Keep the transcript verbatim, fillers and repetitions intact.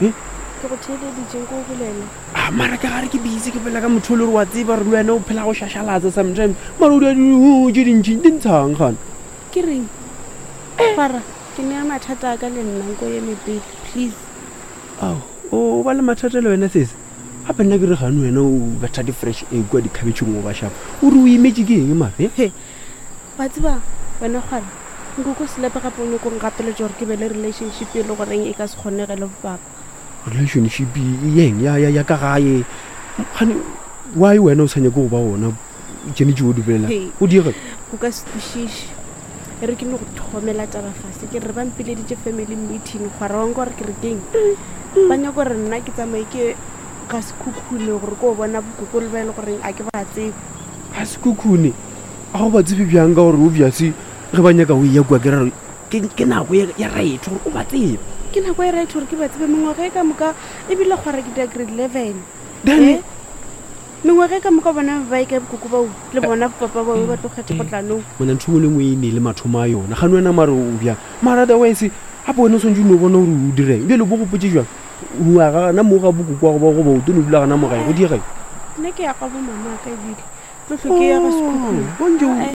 Eh? Ke go theeleditše nko o bolela. Ah, mara ke gare ke busy ke bolela ka motho o le gore wa tseba gore le wena o phela go šašalatsa sometimes mara o dia tše dintši di ntshang gana Ke reng? Kgwara, ke nea mathata a ka le nna nko eme pele, please. Ao, o ba le mathata le wena sese gape nna ke re gane wena o betha di-fresh e kua dikhabetšheng o ba shapa o re o imetše ke eng mare He, wa tseba wena kgwara, nkoko selepe gape o nyako ngapeletša gore ke be le relationship e le goreng e ka se kgonege le bopapa. Relationship yeng ya, ya, ya ka gae gane why wena o sa nyake go ba gona tšene tšeo o di bolelang Hei. O diega. O ka se kwešiše. E re ke no go thomela taba fase. Ke re ba mpileditše family meeting kgwara wa nka gore ke re keng. Ba nyaka gore nna ke tsamaye ke ga Sekhukhune gore ke o bona bokoko le ba e le goreng a ke ba tsebe. Ga Sekhukhune a go ba tsebe bjang? Ka gore obvious ge ba nyaka o ya kua ke rare ke ke nako ya ya right gore o ba tsebe. Ke nako e right gore ke ba tsebe mengwaga e ka moka ebile kgwara ke dia grade eleven. Then Eh? Mengwaga e ka moka bona ba e ka bokoko bao le bona bopapa bao ba tlo kgetha go tla nou. Mona ntho engwe le engwe e ne le mathomo a yona gane wena mare o bjang mara otherwise gape wena o tshwanetse o no bona gore o direng bjale bo gopotse jang oa gana mo ga bokoko wa go ba goba o tlo no dula gana mo gae go diega. Nna ke ya ga bo mama ka ebile tlo tlho ke ya ga Sekhukhune. Bontse. Eh.